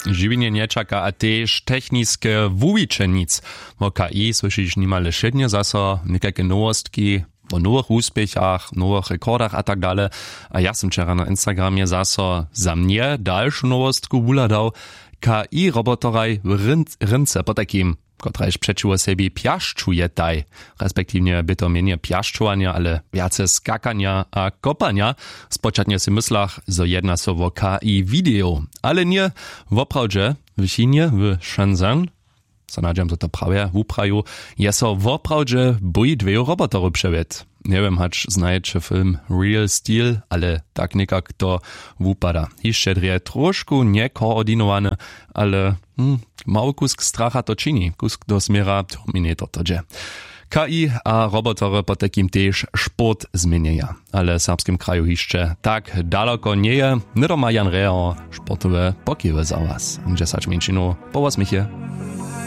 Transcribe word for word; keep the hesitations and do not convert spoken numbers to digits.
Žiwjenje nječaka a tež techniske wuwiće nic. Wo k i słyšiš nimale wšědnje zaso někajke nowostki wo nowych wuspěchach, nowych rekordach a tak dale. A ja sym wčera na instagramje zaso za mnje dalšu nowostku wuhladał. K i roboteraj w rynce potajkim, kotrajž přećiwo sebi pjašćujetaj, respektiwnje bě to mjenje pjašćowanja ale wjace skakanja a kopanja. Spočatnje sej myslach zo jedna so wo k i widejow, ale ně. Woprawdźe w chinje w shenzhen, so nadźam zo to prawje wupraju, je so woprawdźe bój dweju roboterow přewět. Njewěm hač znajeće film real steel, ale tak někak to wupada hišće drje trošku njekoordinowane, ale hm, mały kusk stracha to čini kusk do směra terminator to dźe. K i a robotery potajkim tež sport změnjeja, ale w serbskim kraju hišće tak daloko njeje. Hnydoma jan reho, sportowe pokiwy za was dźesać mjeńšinow. Po wosměchje.